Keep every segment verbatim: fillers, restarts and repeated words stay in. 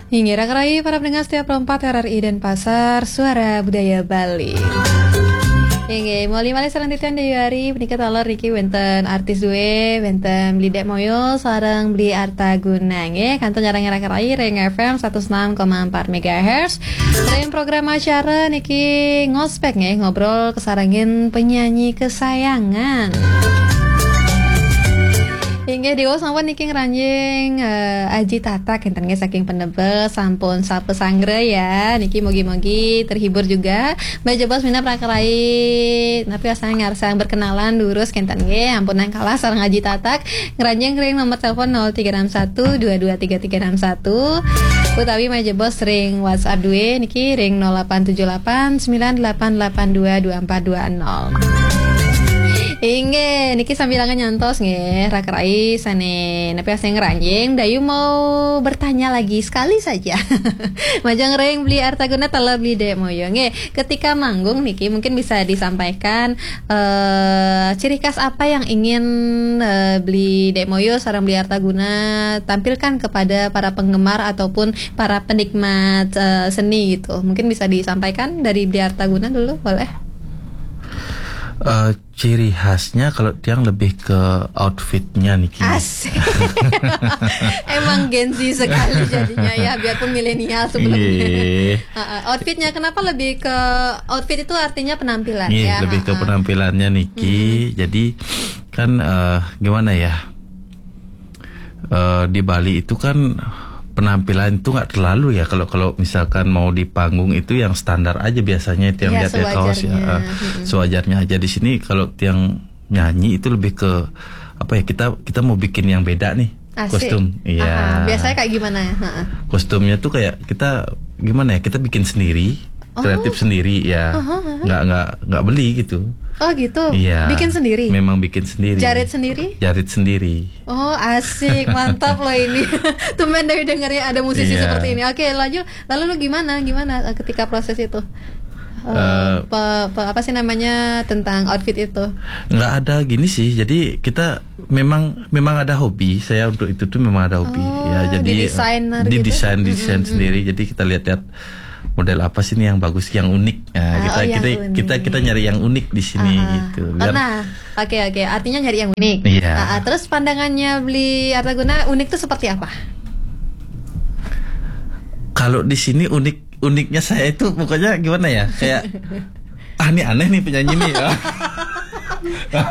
Inggih, raka rai para pendengar setia Pro empat R R I Denpasar, Suara Budaya Bali. Inggih, malih sareng titiang Dayu Ari, punika taler niki wenten artis duwe, wenten Beli Dek Moyo, sareng Beli Arta Guna, nggih, kantun nyarengin raka rai ring F M satus enam koma empat megahertz. Ring program acara niki ngospek nggih, ngobrol kasarengin penyanyi kesayangan. Inggih, diwaos sampun niki ngranjing, eh, Aji Tatak, enten nggih saking Penebes, sampun sapa sanggra ya. Niki mugi-mugi terhibur juga. Mbak Jebos minab raka rai, napi asal ngarsang berkenalan durus kenten nggih, ampunang kalah sareng Aji Tatak. Ngranjing ring nomor telepon nol tiga enam satu dua dua tiga tiga enam satu, utawi Mbak Jebos ring WhatsApp duwe niki ring nol delapan tujuh delapan sembilan delapan delapan dua dua empat dua nol. Inggih, niki sambilanga nyantos nggih, raka rai sane napi asal ngranjing, Dayu mau bertanya lagi sekali saja. Majeng ring Beli Arta Guna taler Beli Dek Moyo. Nggih, ketika manggung niki mungkin bisa disampaikan, eh, ciri khas apa yang ingin, eh, Beli Dek Moyo sareng Beli Arta Guna tampilkan kepada para penggemar ataupun para penikmat, eh, seni gitu. Mungkin bisa disampaikan dari Beli Arta Guna dulu, boleh? Eh, ciri khasnya kalau tiang lebih ke outfitnya niki. Asik. Emang Gen Z sekali jadinya ya, biarpun milenial sebelumnya. Iya. Heeh, outfitnya kenapa lebih ke outfit itu artinya penampilan. Iya, ya, lebih ke heeh. Penampilannya niki. Hmm. Jadi kan, eh, gimana ya? Eh, di Bali itu kan penampilan itu nggak terlalu ya, kalau kalau misalkan mau di panggung itu yang standar aja biasanya itu yang ya, lihat ya, kaos ya, sewajarnya. Eh, mm-mm. Sewajarnya aja. Di sini kalau tiang nyanyi itu lebih ke apa ya, kita kita mau bikin yang beda nih. Asik. Kostum. Iya. Aha, biasanya kayak gimana ya? Heeh. Kostumnya tuh kayak kita gimana ya, kita bikin sendiri, oh, kreatif sendiri ya. Aha, aha. Nggak nggak nggak beli gitu. Oh gitu. Iya. Bikin sendiri. Memang bikin sendiri. Jarit sendiri. Jarit sendiri. Oh, asik, mantap loh ini. Tumben dari dengarnya ada musisi, iya, seperti ini. Oke, lanjut. Lalu lu gimana? Gimana, eh, ketika proses itu? Eh, eh, pe-, pe-, apa sih namanya, tentang outfit itu? Nggak ada gini sih. Jadi kita memang memang ada hobi. Saya untuk itu tuh memang ada hobi. Oh, ya, jadi didesainer gitu? Didesain, didesain sendiri. Jadi kita lihat-lihat model apa sih nih yang bagus, yang unik. Nah, ah, kita, oh, yang kita, unik. Kita, kita nyari yang unik di sini gitu. Biar karena Oke, oke. Artinya nyari yang unik. Iya. Ah, ah, terus pandangannya Beli Artaguna unik tuh seperti apa? Kalau di sini unik, uniknya saya itu pokoknya gimana ya? Kayak, "Ah, ini aneh nih penyanyi nih."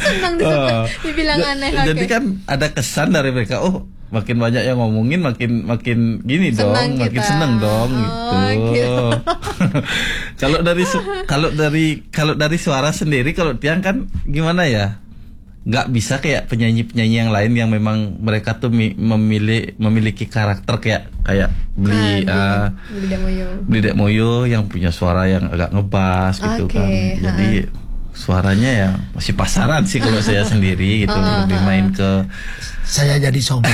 Senang di situ, oh, dibilang ja-, aneh, jadi oke. Kan ada kesan dari mereka, "Oh, makin banyak yang ngomongin, makin, makin gini dong, senang makin kita. Seneng dong," oh, gitu. Gitu. Kalau dari su-, kalau dari, kalau dari suara sendiri, kalau tiang kan gimana ya? Nggak bisa kayak penyanyi-penyanyi yang lain yang memang mereka tuh mi-, memilih, memiliki karakter kayak, kayak Beli, ah, Beli, ah, Beli Dek Moyo. Beli Dek Moyo yang punya suara yang agak ngebas gitu, oke, kan. Jadi, heeh, suaranya ya masih pasaran sih kalau saya sendiri gitu. Heeh, lebih heeh. Main ke saya jadi sombong.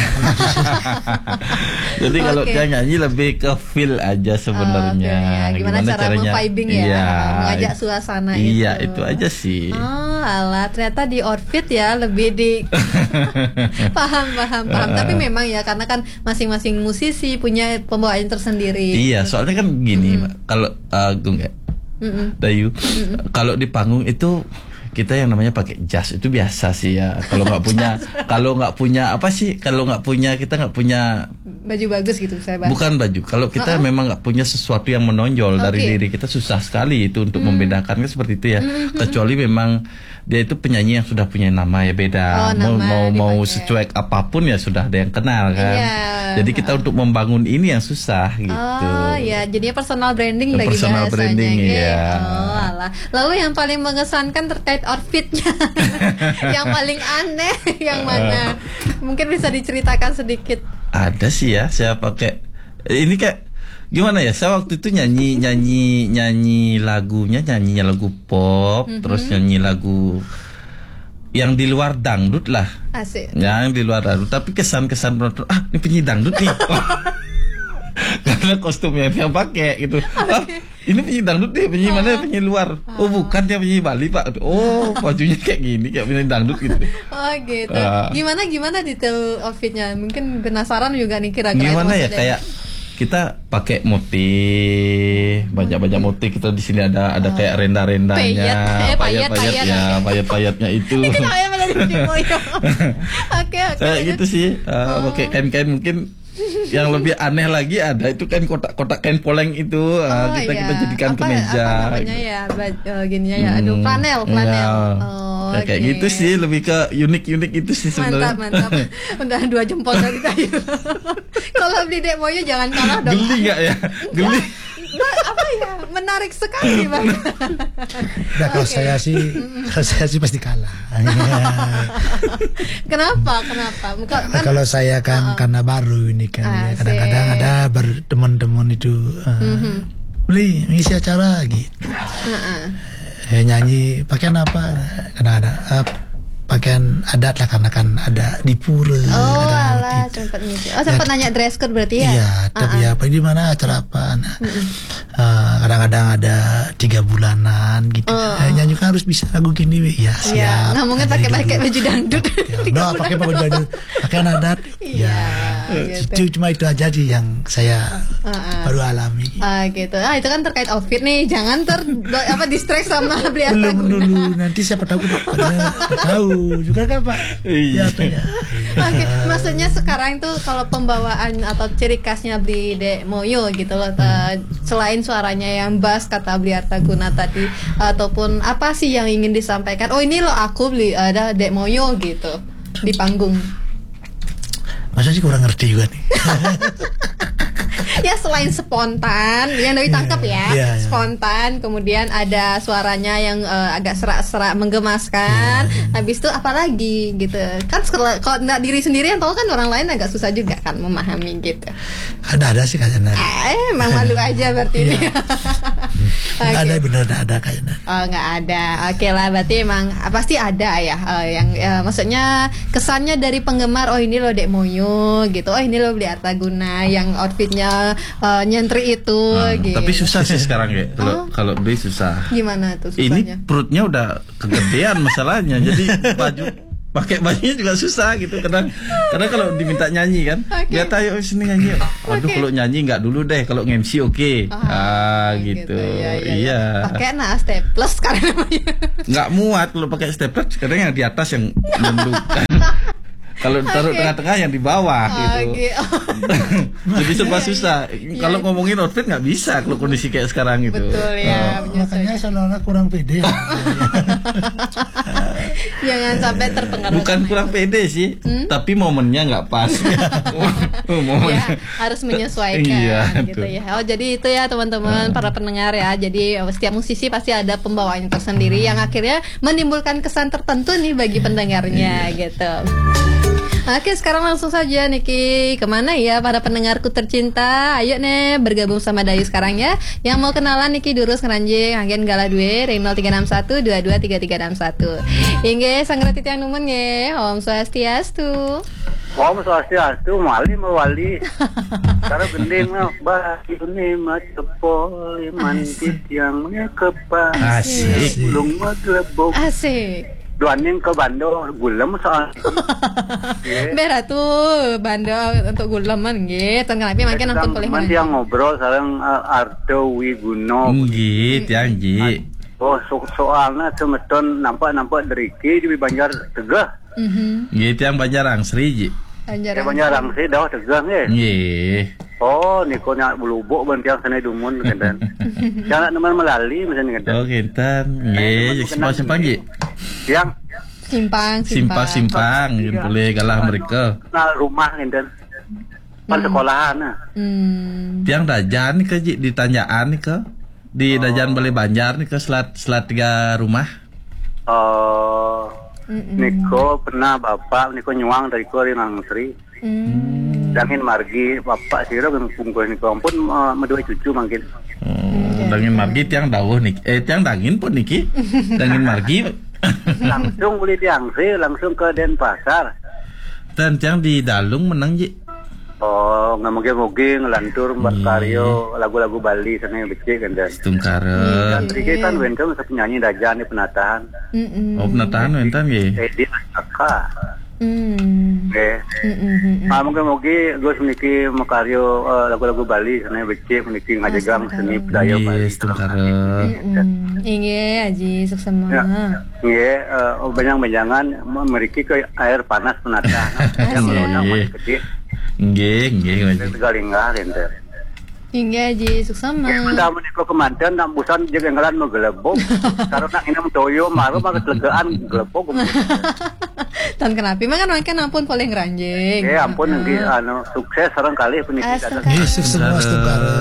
Jadi kalau, oke, dia nyanyi lebih ke feel aja sebenarnya. Oh, feel ya. Gimana, gimana cara caranya? Meng-vibing ya? Iya. Mengajak suasana, iya, itu. Itu aja sih. Oh, alah, ternyata di outfit ya lebih di paham, paham, paham. Heeh. Tapi memang ya, karena kan masing-masing musisi punya pembawaannya tersendiri. Iya, soalnya kan gini, mm-mm, kalau, uh, Gung ya, mm-mm, Dayu, mm-mm, kalau di panggung itu kita yang namanya pakai jas itu biasa sih ya. Kalau nggak punya, kalau nggak punya apa sih? Kalau nggak punya, kita nggak punya baju bagus gitu, saya bahas. Bukan baju. Kalau kita, heeh, memang nggak punya sesuatu yang menonjol dari, oke, diri kita, susah sekali itu untuk, hmm, membedakan, kan seperti itu ya. Hmm, hmm. Kecuali memang dia itu penyanyi yang sudah punya nama ya, beda. Oh, mau, nama mau, mau dipakai. Secuek apapun ya sudah ada yang kenal kan. Iya. Jadi kita, heeh, untuk membangun ini yang susah gitu. Oh ya, jadinya personal branding lagi bahasanya. Personal branding, oke, iya. Oh, alah. Lalu yang paling mengesankan terkait outfitnya, yang paling aneh yang mana? Eh. Mungkin bisa diceritakan sedikit. Ada sih ya, saya pakai, ini kayak gimana ya? Saya waktu itu nyanyi, nyanyi, nyanyi lagunya, nyanyinya lagu pop, mhm, terus nyanyi lagu yang di luar dangdut lah. Asik. Yang di luar dangdut, tapi kesan-kesan penonton, "Ah, ini penyanyi dangdut nih." Karena kostum yang dia pakai gitu. Oke. "Ah, ini penyanyi dangdut nih, penyanyi mana, ah, penyanyi luar?" "Oh, ah, bukan, dia penyanyi Bali, Pak." "Oh, bajunya kayak gini, kayak penyanyi dangdut gitu." Oh, gitu. Ah. Gimana, gimana detail outfitnya? Mungkin penasaran juga nih kira-kira. Gimana ya, maksudnya, kayak Kita pakai motif, banyak-banyak motif. Kita di sini ada ada kayak renda-rendanya, Payet, eh, payet, payet-payet payet. Ya, payet-payetnya itu. Itu namanya melodi di Moyo. Oke, oke. Kayak gitu sih, eh, pakai kain-kain mungkin yang lebih aneh lagi ada itu kain kotak-kotak kain poleng itu, eh, Oh, kita kita iya. jadikan Apa, kemeja. apa namanya Gitu. Ya, ba- eh, gininya ya. Aduh, Hmm, flanel, flanel. iya. Oh, Ya, kayak oke. Gitu sih, lebih ke unik-unik itu sih Mantap, sebenarnya. Mantap. Udah dua jempol dari tadi. Kalau beli Dek Moyo jangan kalah dong. Geli nggak ya? Geli. Ba- apa ya? Menarik sekali, Bang. Nah, kalau saya sih, kalau saya sih pasti kalah. Kenapa? Kenapa? Bukan, kan, Kalau saya kan karena baru ini kan, ya, kadang-kadang ada ber- teman-teman itu, eh, beli ngisi acara gitu. Heeh. Eh, nyanyi pakaian apa? Kadang-kadang eh, pakaian adat lah, karena kan ada di pura. Oh, Kadang-kadang alah, gitu. sempat ngisi. Oh, sempat nanya dress code berarti ya? Iya, tapi apa, di mana acara apa? Nah, eh, kadang-kadang ada tiga bulanan gitu. Eh, nyanyi kan harus bisa lagu gini, ya, Iya, siap. nggak mungkin Nah, pakai jadi pakai dulu. Baju dangdut. Ya, udah, pakai baju dangdut, pakaian adat. Iya, Ya, gitu. Itu cuma itu aja sih yang saya baru alami. Ah, gitu. Ah, itu kan terkait outfit nih. Jangan ter apa distract sama beli Belum Artaguna. Dulu, nanti siapa tahu kita pada tahu juga kan, Pak. Iya. Ya, apa ya? Oke, maksudnya sekarang tuh kalau pembawaan atau ciri khasnya beli Dek Moyo gitu loh, ta- selain suaranya yang bass kata beli Artaguna tadi, ataupun apa sih yang ingin disampaikan? Oh, ini loh aku beli ada Dek Moyo gitu di panggung. Masa sih kurang ngerti juga nih. Ya, selain spontan, yang dari tangkap ya, iya, iya. Spontan, kemudian ada suaranya yang eh, agak serak-serak menggemaskan. Iya, iya. Habis itu apa lagi gitu? Kan sekela- kalau nggak diri sendiri yang tahu kan, orang lain agak susah juga kan memahami gitu. Ada-ada sih kayaknya. Eh, emang malu aja berarti. Iya. Oke. Ada, bener, ada, ada kayaknya. Oh, nggak ada. Oke lah, berarti emang ah, pasti ada ya, eh, yang eh, maksudnya kesannya dari penggemar, oh, ini lo Dek Moyo gitu, oh, ini lo beli Artaguna yang outfitnya eh, nyentri itu Nah, gitu. Tapi susah sih sekarang, kayak kalau kalau beli susah. Gimana tuh Ini susahnya? Perutnya udah kegedean masalahnya, jadi baju pakai bajunya juga susah gitu. Kadang kadang kalau diminta nyanyi kan, Oke. Lihat, ayo sini nyanyi. Aduh, Oke. Kalau nyanyi nggak dulu deh, kalau nge-M C oke. Ah, gitu. Ya, ya, ya. Iya. Pakai nah staples sekarang. Nggak muat kalau pakai staples, kadang yang di atas yang nunduk. Kalau taruh Oke. Tengah-tengah, yang di bawah gitu. Oke. Jadi serba susah. Kalau ngomongin outfit nggak bisa kalau kondisi kayak sekarang gitu. Betul ya, Oh. menyesuaikan. Makanya seolah-olah kurang pede. Jangan sampai terpengaruh. Bukan Sama kurang itu. Pede sih, tapi momennya nggak pas. Momennya. Ya, harus menyesuaikan Iya, gitu tuh. Ya. Oh, jadi itu ya teman-teman para pendengar ya. Jadi eh, setiap musisi pasti ada pembawaannya tersendiri yang akhirnya menimbulkan kesan tertentu nih bagi pendengarnya gitu. Oke, sekarang langsung saja Niki, kemana ya para pendengarku tercinta? Ayo nih bergabung sama Dayu sekarang ya. Yang mau kenalan Niki durus ngeranjing anggen galah duwe ring nol tiga enam satu dua dua tiga tiga enam satu. Inggih, sanggra titiang numun nggih. Om Swastiastu. Om Swastiastu, malih mawali. Cara gending mah, bah, ini mah cepol, iman Asik. Titiang mah kepas. Asik. Ulung mah gelebok. Asik. Duaning ke Bando, gulem soal. Nggih. Beh Ratu, Bando untuk guleman nggih. Ten kanapi mangkin nonton Sedang pelih man yang ngobrol sareng eh, Arto Wiguno. Nggih, tiang nggih. Oh, so soalnya semeton nampak-nampak deriki di Banjar Tegeh. Mhm. Nggih, tiang Banjar Angsri, Ji. Banjar. Ya, Banjar Angsri dah Tegeh nggih. Nggih. Oh, niko nyak belubuk ban tiang sana dumun kenten. Yang nak neman melali macam kenten. Oh, kinten. Nggih, simpang-simpang, Ji. Yang Simpang, Simpang-simpang, yen boleh galah mereka. Nah, rumah kenten. Pan sekolahan nah. Hmm. Tiang dajan nika, Ji, di Tanjaan nika. Di dajan Balai Banjar nika, selat selat tiga rumah. Oh, Mm-mm. niko pernah bapak niko nyuang dari ko ring Angsri. Hmm. Dangin margi bapak sira kan bungkus niko ampun eh, medua cucu mangkin. Oh, dangin margi tiang dawuh niki. Eh, tiang dangin pun niki. Dangin margi. Langsung boleh di Angsri, langsung ke Denpasar. Dan tiang di Dalung menang, Ji. Oh, ngamoge-moge ngelantur mbak Hmm. karyo lagu-lagu Bali sana yang becik kan dan. Tungkara. Dan Riki kan wenten penyanyi dajan di penatahan. Mm-mm. Oh, penatahan wenten nggih. Edi Asaka. Hmm. Nggih. Mm-mm, mm-mm. Ah, mungkin mugi Gus niki makarya, eh, lagu-lagu Bali, sane becik niki ngajegang seni budaya Bali. Nggih, setengkara. Mm-mm. Inggih, Aji, suksema. Ya. Nggih, eh, benjang-benjangan meriki ke air panas menata. Yang melonjak masih kecil. Nggih, nggih, Aji. Tegal linggah, ente. Inggih, Aji, suksema. Nggih, entah menika kemanten, nak busan jeg enggalan menggelebok. Karo nak nginem toyo, maru maka telegaan gelebok. Tan kenapi, makan makan ampun polih ngranjing. Nggih, ampun, nggih, anu, sukses sareng kalih puniki. Astungkara. Nggih, sukses, astungkara.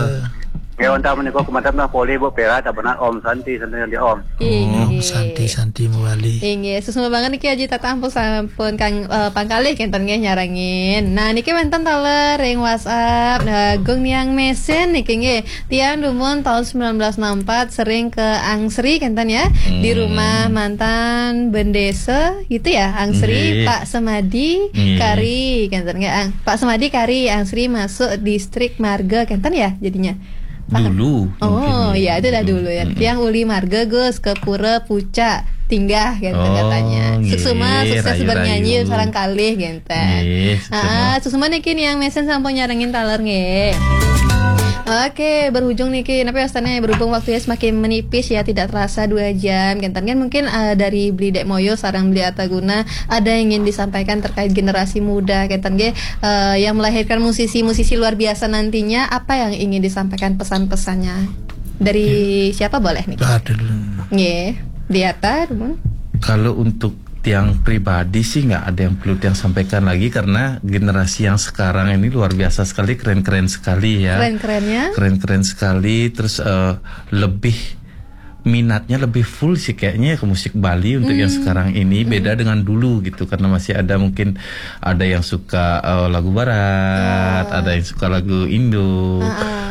Nggih, entah menika kemanten mah polih Bu Pera, tak benar Om Santi, Santi, Santi Om. Inggih. Om Santi, Santi Mawali. Inggih, suksma banget niki Aji Tatah ampun sampun kang, eh, pangkalih kenten nggih nyarengin. Nah, niki wenten taler ring WhatsApp. Nah, Gung Niang Mesin niki nggih. Tiang dumun tahun sembilan belas enam empat sering ke Angsri kenten ya. Di rumah mantan bendesa gitu ya, Angsri, nggih. Pak Semadi, nggih. Kari kenten nggih. Ang-, Pak Semadi Kari, Angsri masuk distrik Marga kenten ya jadinya. Paham? Dulu, oh, mungkin, ya, itu dah dulu, dulu ya. Mm-mm. Tiang uli Marga Gus ke Pura Pucak Tinggah gitu. Oh, katanya. Nggih, suksma, sukses rayu, bernyanyi, rayu. Sarang kalih gitu. Nggih, suksma. Ah, suksma niki Niang Mesin sampun nyarengin taler nggih. Oke, berhujung niki. Tapi wastane berhubung waktunya semakin menipis ya, tidak terasa dua jam. Kenten kan mungkin, eh, dari Beli Dek Moyo sareng Beli Ataguna ada yang ingin disampaikan terkait generasi muda. Kenten nggih, eh, yang melahirkan musisi-musisi luar biasa nantinya, apa yang ingin disampaikan pesan-pesannya? Dari siapa boleh nih? Aduh. Nggih, Beli Ata, dumun. Kalau untuk tiang pribadi sih nggak ada yang perlu tiang sampaikan lagi karena generasi yang sekarang ini luar biasa sekali, keren-keren sekali ya. Keren-kerennya? Keren-keren sekali, terus, eh, lebih minatnya lebih full sih kayaknya ke musik Bali untuk yang sekarang ini, beda dengan dulu gitu, karena masih ada mungkin ada yang suka, eh, lagu barat, ada yang suka lagu Indo.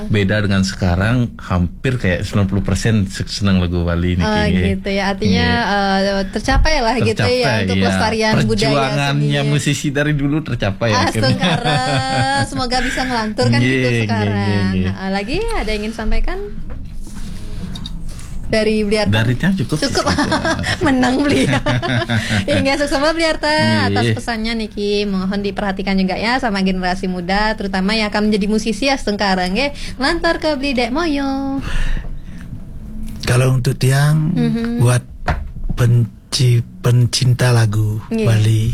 Beda dengan sekarang hampir kayak sembilan puluh persen se-, senang lagu Bali niki. Oh, nggih. Gitu ya. Artinya, eh, tercapai lah gitu ya untuk kelestarian budaya seni. Perjuangannya musisi dari dulu tercapai akhirnya. Astungkara, semoga bisa ngelantur kan gitu sekarang. Nggih, nggih, nggih. Nah, lagi ada yang ingin sampaikan? Dari Beli Arta? Dari tiang cukup sih. Cukup. Menang Beli. Inggih, suksma Beli Arta atas pesannya niki. Mohon diperhatikan juga ya sama generasi muda, terutama yang akan menjadi musisi astungkara nggih. Lantur ke Beli Dek Moyo. Kalau untuk tiang, buat penci-, pencinta lagu Bali,